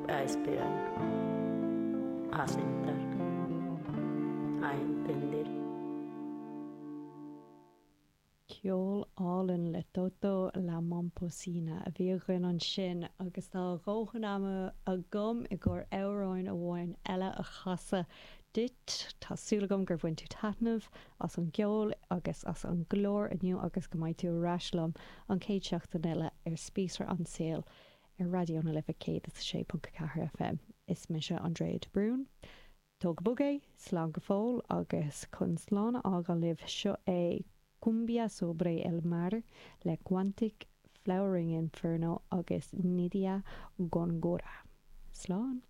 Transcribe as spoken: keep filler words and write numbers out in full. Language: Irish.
a esperar, a aceptar, a entender. Ceol álainn le Toto La Momposina a bhí againn ansin agus tá a dhóthain ama agam i gcomhair amhrán amháin eile a chasadh duit. Tá súil agam gur bhain tú taitneamh as an gceol agus as an gclár inniu agus go mbeidh tú ar ais liom an chéad seachtain eile ar Spíosra an tSaoil ar Raidió na Life céad is a sé ponc a ceathair FM. Is mise Andrea de Brún. Tóg go bog é, slán go fóill agus chun slán a fhágáil libh seo é Cumbia sobre el mar le Quantic Flowering Inferno agus Nidia Gongora. Slán!